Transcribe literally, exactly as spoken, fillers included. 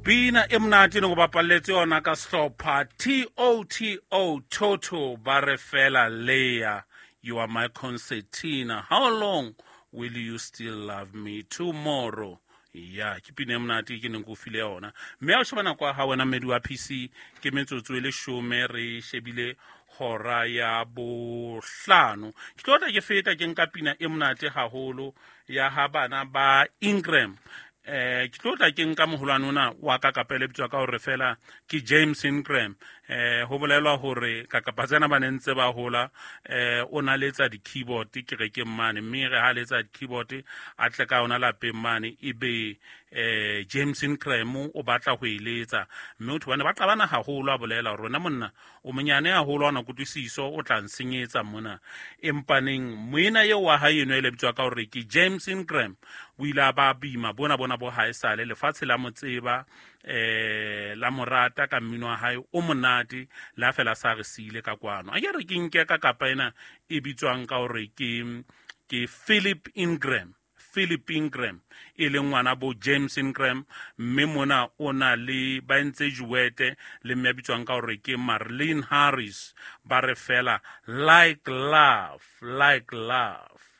Pina e monate ne go bapalletse yona ka sehlopha T O T O Toto ba re fela Leya, you are my concertina, how long will you still love me tomorrow? Ya ke pina e monate ke neng ke o file yona. Mme ha o sheba nako ya hao wena mmedi wa P C ke metsotso e leshome re shebile hora ya bohlano. Ke tlo tla ke feta ke nka pina e monate haholo ya ha bana ba Ingram. Eh, ke tlo tla ke nka moholwane ona wa ka kapele bitswa ka hore fela ke James Ingram. Eh, ho bolelwa hore ka kapa tsena ba ne ntse ba hola, eh, o na letsa di-keyboard kerekeng mane, mme re ha letsa di-keyboard a tle ka yona lapeng mane, ebe, eh, James Ingram o batla ho e letsa. Mme o thobane ba qabana haholo, a bolela hore wena monna o monyane haholo, ha ona kutlwisiso, o tla nsenyetsa mona. Empaneng moena eo wa hae eno e le bitswa ka hore ke James Ingram o ile a ba boima bona bona bo haesale lefatshe la mo tseba, eh, la mo rata ka mmino wa hae o monate, la fela sa re siile ka kwano. A ke re ke nke ka kapa ena e bitswang ka hore ke, ke Philip Ingram. Philip Ingram e leng ngwana bo James Ingram, mme mona o na le ba entse duet le mme a bitswang ka hore ke Marlene Harris, ba re fela like love, like love.